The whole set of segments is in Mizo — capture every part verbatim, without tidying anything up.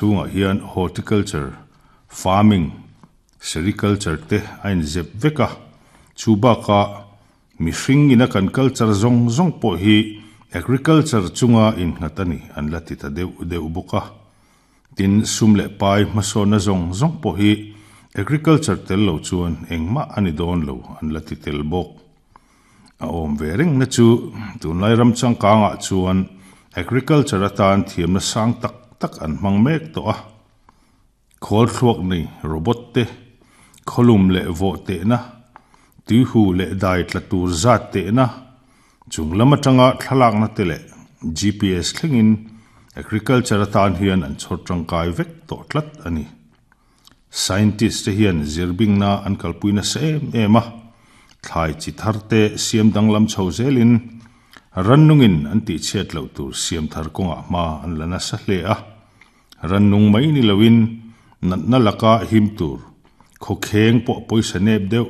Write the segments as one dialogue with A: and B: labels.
A: Chungah hian horticulture, farming, sericulture te a inzep vek a, chu bakah mihring ina kan culture zawng zawng pawh hi agriculture chunga innghat a ni an la ti ta deuh deuh bawk a. Tin, sum leh pai hmasawnna zawng zawng pawh hi agriculture tel lo chuan engmah a ni dawn lo an la ti tel bawk. A awm ve reng na chu tunlai ram changkangah chuan agriculture atan thiamna sang tak tak an hmang mek tawh a. Khawl thluak nei robot te, khawlum leh vawh tehna, tuihu leh dai tla tur zat tehna, chung lam atanga thlalakna te leh G P S thlengin agriculture atan hian an chhawr tangkai vek tawh tlat a ni. Scientist te hian zirbingna an kalpui nasa em em a, thlai chi thar te siam danglam chho zelin rannungin an tih chhiat loh tur siam thar kawngah hma an la nasa hle a. Rannung mai ni loin natna laka him tur khawkheng pawh pawisa nep deuh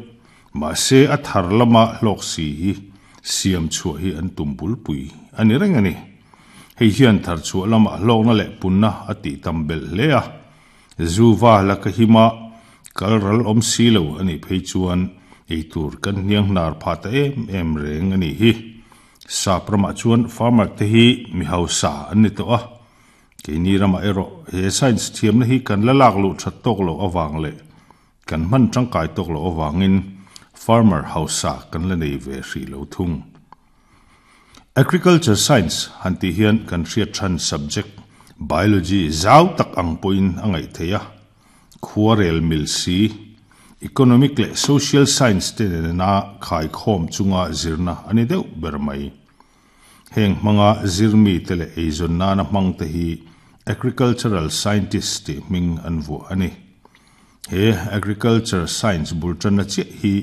A: mahse a thar lama hlawk si hi siam chhuah hi an tum bulpui a ni reng a ni. Hei hian thar chhuah lama hlawkna leh punna a tih tam belh hle a. Zuwa laka hima kalral awm si lo a nih phei chuan ei tur kan hniang hnar pha ta em em reng a ni hi. Sap ramah chuan farmer te hi mi hausa an ni tawh a. Keini ramah erawh he science thiamna hi kan la lak luh that tawk lo awang leh kan hman tangkai tawk lo awangin farmer hausa kan la nei ve hri lo thung. Agriculture science han ti hian kan hriat than subject biology zau tak ang pawhin a ngaih thei a. Khuarel mil si, economic leh social science te nena khai khawm chunga zirna a ni deuh ber mai. Heng hmanga zirmi te leh eizawn nana hmang te hi agricultural scientist tih hming an vuah a ni. He agriculture science bul tanna chiah hi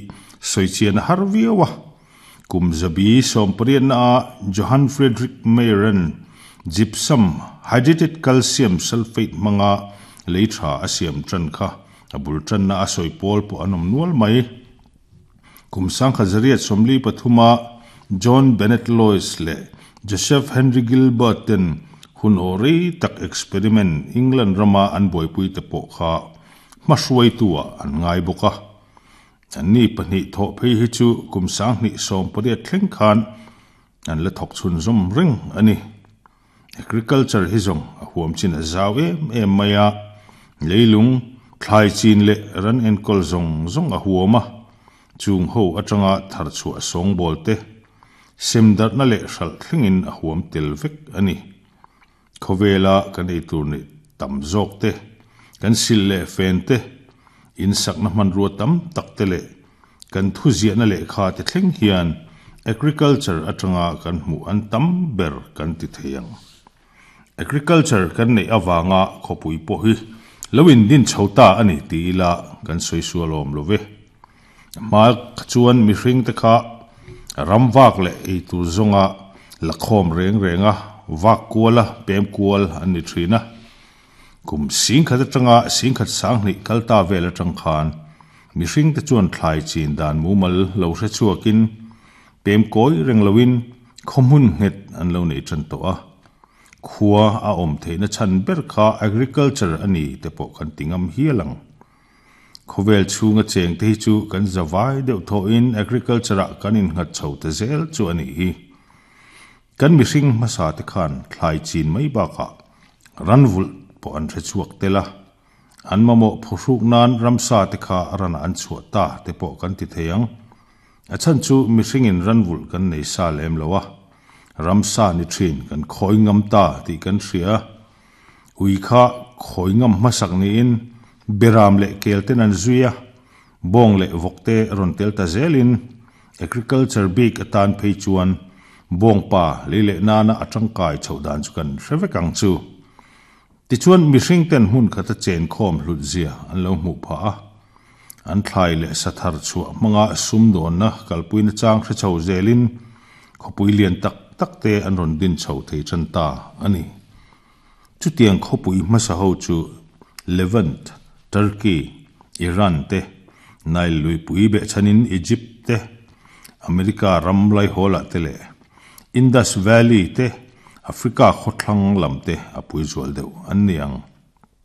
A: sawichian a har viau a. Kum zabi sawmpariatna a Johann Friedrich Mayr-an gypsum hydrated calcium sulfate hmanga lei tha a siam tan kha a bul tanna a sawi pawl pawh an awm nual mai. Kum sangkhat zariat sawmli pathuma John Bennet Lawes leh Joseph Henry Gilbert ten hun aw rei tak experiment England rama an buaipui te pawh kha hmahruai tua an ngai bawk a. An ni pahnih thawh phei hi chu kum sanghnih sawm pariat thleng khan an la thawk chhun zawm reng a ni. Agriculture hi zawng a huam chin a zau em em mai a. Leilung thlai chin leh ran enkawl zawng zawng a huam a. Chung ho atanga thar chhuah sawng bawl te semdarna leh hralh thlengin a huam tel vek a ni. Khawvela kan ei tur nei tam zawk te, kan sil leh fen te, in sakna hmanrua tam tak te leh kan thu ziahna lehkha te thleng hian agriculture atanga kan hmuh an tam ber kan ti thei ang. Agriculture kan neih awanga khawpui pawh hi lo in din chho ta a ni ti ila kan sawi sual awm lo ve. Hma chuan mihring te kha ram vak leh ei tur zawnga la khawm reng reng a, vak kual a, pem kual an ni thin a. Kum singkhat atanga singkhat sanghnih kal ta vel atang khan mihring te chuan thlai chin dan mumal lo hre chhuakin pem kawi reng loin khawhmun nghet an lo nei tan tawh a. Khua a awm theihna chhan ber kha agriculture a ni te pawh kan ti ngam hial ang. Khawvel chhunga cheng te hi chu kan zawai deuh thawhin agriculture ah kan innghat chho ta zel chu a ni hi. Kan mihring hmasa te khan thlai chin mai bakah ranvulh pawh an hre chhuak tel a. An mamawh phuhruk nan ramsa te kha rana an chhuah ta te pawh kan ti thei ang. A chhan chu mihringin ranvulh kan nei sa lem lo a. Ramsa ni thin kan khawi ngam ta tih kan hria. Ui kha khawi ngam hmasak niin beram leh kel ten an zui a. Bawng leh vawk te rawn tel ta zelin agriculture bik atan phei chuan bawng pa lei leh nana a tangkai chho dan chu kan hre vek ang chu. Tichuan mihring ten hmun khata chen khawm hlut zia an lo hmuh pha a. An thlai leh sathar chhuah hmanga sum dawnna kalpuina chang hre chho zelin khawpui lian tak tak te an rawn din chho thei tan ta a ni. Chutiang khawpui hmasa ho chu Levant, Turkey, Iran te, Nile luipui behchhanin Egypt te, America ram lai hawlah te leh Indus Valley te, Africa khawthlang lam te a pui zual deuh an ni ang.